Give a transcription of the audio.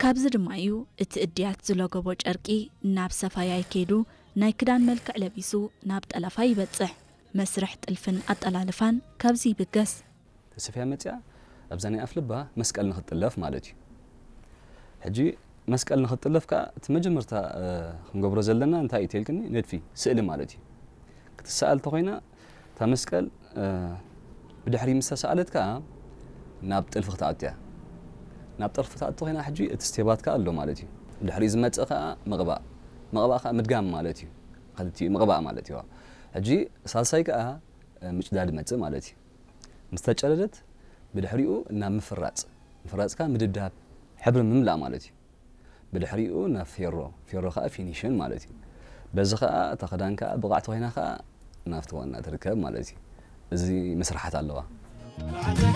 ኣብዚ ድማ እዩ እቲ እድያት ዝለገቦ ጨርቂ ናብ ሰፋያይ ከይዱ ናይ ክዳን መልክዕ ለቢሱ ናብ ጠለፋ ይበጽሕ። መስርሕ ጥልፍን ኣጠላልፋን ካብዚ ይብገስ። ተሰፍያ መጽያ ኣብዛ ናይ ኣፍልባ መስቀል ንኽትጥለፍ ማለት እዩ። ሕጂ መስቀል ንኽትጥለፍ ከኣ እቲ መጀመርታ ክንገብሮ ዘለና እንታይ እዩ ተልክኒ ነድፊ ስእሊ ማለት እዩ። ክትሰኣል ተኾይና እታ መስቀል ብድሕሪ ምስ ተሰኣለት ከኣ ናብ ጥልፊ ክትኣቱ እያ። ናብ ጥልፊ ክትኣቱ ኮይና ሕጂ እቲ ስቴባት ከኣ ኣሎ ማለት እዩ። ድሕሪኡ ዝመጽእ ከኣ ምቕባእ፣ ምቕባእ ከኣ ምድጋም ማለት እዩ። ክልቲኡ ምቕባእ ማለት እዩ። ሕጂ ሳልሳይ ከኣ ምጭዳድ ይመጽእ ማለት እዩ። ምስ ተጨደደት ብድሕሪኡ ናብ ምፍራጽ፣ ምፍራጽ ከኣ ምድብዳብ፣ ሕብሪ ምምላእ ማለት እዩ። ብድሕሪኡ ናብ ፌሮ፣ ፌሮ ከኣ ፊኒሽን ማለት እዩ። በዚ ከኣ እታ ክዳን ከኣ ብቕዕቲ ኮይና ከኣ ናብቲ ዋና ትርከብ ማለት እዩ። እዚ መስርሓት ኣለዋ።